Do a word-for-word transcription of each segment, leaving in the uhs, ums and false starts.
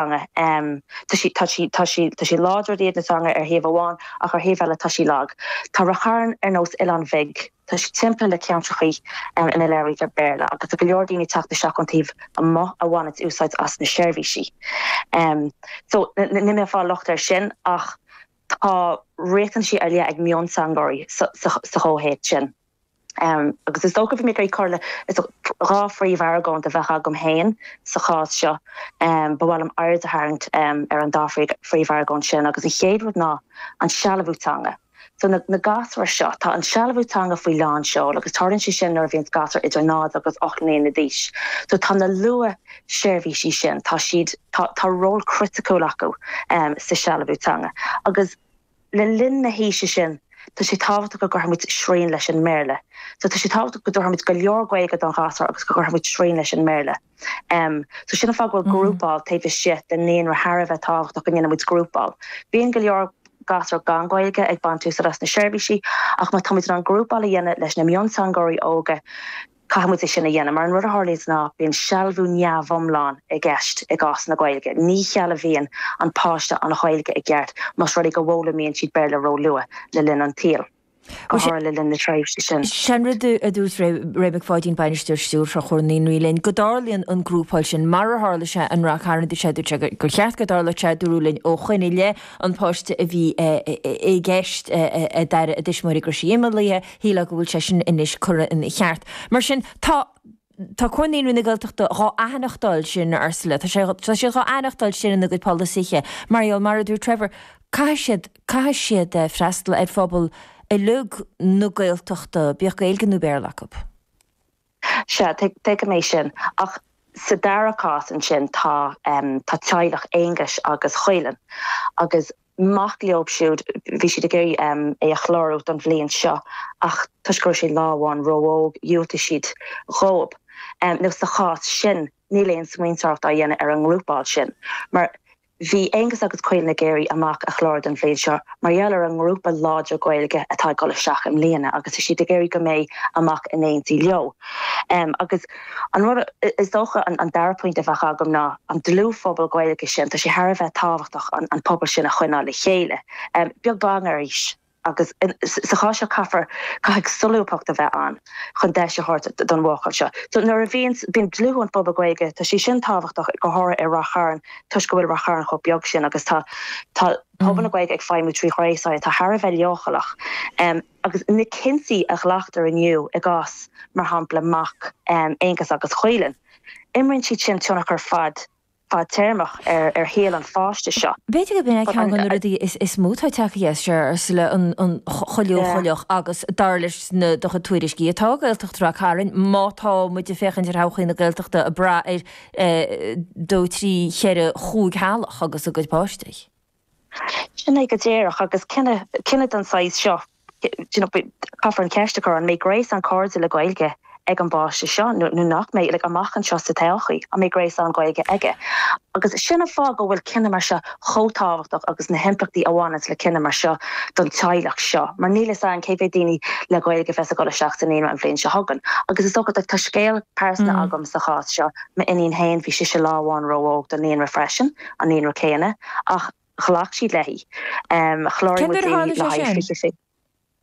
Um, tá sí tá sí tá sí tá sí láidir i na teanga ar thaobh amháin ach ar thaobh eile tá sí lag. Tá Ráth Chairn ar nós oileán beag Tá sí timpeallaithe le ceantracha um, ina labhraítear Béarla agus go leor daoine teacht isteach ón taobh amuigh a bhaineann úsáid as na seirbhísí. Um, so ní mé fá locht air sin ach tá riachtanaisí ar leith ag mionteangóirí sa chomhthéacs sin. Um, agus is dócha mé chuile dhá phríomhargóint a bheith agam féin sa chás seo um, ba mhaith liom aird a tharraingt um, ar an dá phríomhargóint sin agus an chéad rud ná an sealbhú teanga. So na, na gasúir seo tá an sealbhú teanga faoi lán seoil agus tarlaíonn sé sin nuair a bhíonn gasúr idir náid agus ocht mbliana d'aois. So tá na luathsheirbhísí sin tá siad tá, tá ról criticiúil acu um, sa sealbhú teanga. Agus le linn na haoise sin tá sé tábhachtach go gcuirfimid srian leis an mBéarla. So tá sé tábhachtach go dtabharfaimid go leor Gaeilge don ghasúr agus go gcuirfimid srian leis an mBéarla. Um, so sin an fáth go bhfuil grúpáil taobh istigh den naíonra thar a bheith tábhachtach go ndéanaimid grúpáil. Bíonn go leor gasúr gan Ghaeilge ag baint úsáid as na seirbhísí ach má táimid an grúpáil a dhéanamh leis na mionteangóirí óga caithfimid é sin a dhéanamh mar an rud a tharlaíonn ná bíonn sealbhú neamhiomlán i gceist i gcás na Gaeilge. Ní shealbhaíonn an páiste an Ghaeilge i gceart más rud é go bhfoghlaimíonn siad Béarla ró-luath le linn an tsaoil. Go le linn na tréimhse sin. Sin rud a dúirt Ray McPháidín bainisteoir stiúrthóir Chomhar na Naíonraí linn go dtarlaíonn an grúpáil sin mar a tharla sé in Ráth Chairn sé dúirt sé gur cheart go dtarlódh sé dúradh linn ó shoin i leith an páiste a bhí i gceist a d'airigh a dtuismitheoirí go raibh sí imeallaithe shílfeá go bhfuil sé sin anois curtha ina cheart. Mar sin tá Tá Comhar Naíonraí na Gaeltachta dhá aithneachtáil sin Ursula, Tá sé tá sé dhá aithneachtáil sin ina gcuid polasaithe. Mar mar a dúirt Trevor, caithfidh siad caithfidh siad freastal ar phobal uilig na Gaeltachta bíodh Gaeilge nó Béarla acu. Se tuigim é sin ach sa dara cás ansin tá um, tá teaghlach Aonghus agus Chuilinn agus mac leo siúd bhí siad ag iarraidh um, é a chlárú don bhliain seo ach toisc go raibh sé lá amháin ró-óg dhiúltaigh siad dóibh. Um, nó sa chás sin níl aon smaointeoireacht á dhéanamh ar an ngrúpáil sin. Mar bhí Aonghus agus Caolan ag iarraidh a mac a chlárú don bhliain seo mar gheall ar an ngrúpa láidir Gaeilge atá ag dul isteach i mbliana agus is siad ag iarraidh go mbeidh a mac in éindí leo. Um, agus an rud is dócha an, an dara pointe a bheadh agam ná an dlúthphobal Gaeilge sin tá sé thar a bheith tábhachtach an, an pobal sin a choinneáil le chéile. Um, beag beann ar aois agus sa chás seo caithfear caithfidh solúbthacht a bheith ann chun deis a thabhairt don bhuachaill seo. So nuair a bhíonn bíonn dlúth an phobal Gaeilge tá sé sin tábhachtach go háirithe i Ráth Chairn toisc go bhfuil Ráth Chairn chomh beag sin agus tá tá pobal na Gaeilge ag feidhmiú trí ghréasáin atá thar a bheith leochaileach. Um, agus na cinntí a ghlactar inniu i gcás mar shampla mac um, Aonghus agus Chuilinn. Imríonn siad sin tionchar fad fadtéarmach ar ar shaol an pháiste seo. B'fhéidir go b'in ceann de na rudaí is is mó atá tagtha sé le an choleocholeoch agus dar leis na do tuairiscí atá Gaeltacht Ráth Chairn má tá muid ag féachaint ar thodhchaí na Gaeltachta ag brath ar dó trí cheithre chúig theaghlach agus a gcuid páistí. Sin é go díreach agus cinneadh den saghas seo caithfear an cheist a chur an mbeidh gréasán cairde le Gaeilge ag an bpáiste seo nó nach mbeidh like, amach anseo sa todhchaí an mbeidh gréasán Gaeilge aige. Agus sin an fáth go bhfuil cinneadh mar seo chomh tábhachtach agus na himpleachtaí a bhaineann le cinneadh mar seo don teaghlach seo. Mar níl a fhios againn cé mhéad daoine le Gaeilge a bheas ag dul isteach sa naíonra an bhliain seo chugainn. Agus is dócha tá scéal pearsanta mm. agam sa chás seo m'iníon féin bhí sise lá amháin ró-óg don naíonra freisin an naíonra céanna ach ghlac siad léi. Um, chláraigh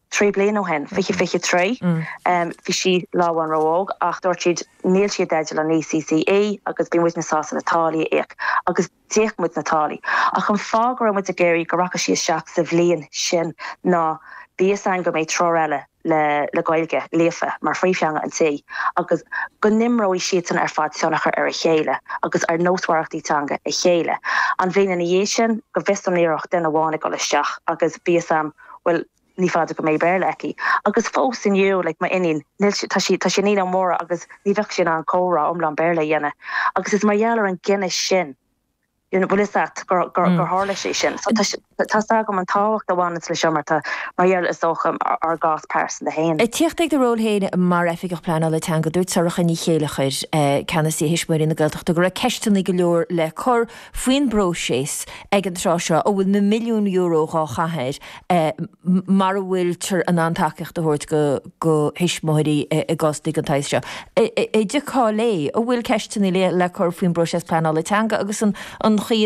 trí bliana ó shin fiche fiche trí bhí sí lá amháin ró-óg ach dúirt siad níl sí i dteideal an ECCE agus bhí muid sásta na táillí a íoc agus d'íoc muid na táillí. Ach an fáth go raibh muid ag iarraidh go rachadh sí isteach sa bhliain sin ná bhí a fhios againn go mbeidh triúr eile le le Gaeilge líofa mar phríomhtheanga an tí agus go n-imreoidh siad san ar fad tionchar ar a chéile agus ar nósmhaireachtaí teanga a chéile. An bhliain ina dhiaidh sin go bhfios dom ní raibh duine amháin ag dul isteach agus bhí a fhios agam well ní fada go mbeidh Béarla aici. Agus fós inniu like, m'iníon tá sí tá sí níos mór agus ní bheadh sí in ann comhrá iomlán Béarla a dhéanamh. Agus is mar gheall ar an gcinneadh sin you know, bhfuil gur gur gur tharla sé sin. So tá agam an tábhacht a bhaineann le seo mar tá mar gheall is dócha ár gcás pearsanta féin. Teacht ag do ról féin mar oifigeach pleanála teanga dúirt Sorcha Ní Chéilleachair ceannasaí Thuismitheoirí na Gaeltachta go raibh ceisteanna go leor le cur faoin bpróiseas ag an tráth seo a bhfuil na milliún euro dhá chaitheamh mar a bhfuiltear in ann tacaíocht a thabhairt go go thuismitheoirí i gcás den tsaghas seo. I dtaca le a bhfuil ceisteanna le le cur faoin bpróiseas pleanála teanga agus an an an chaoi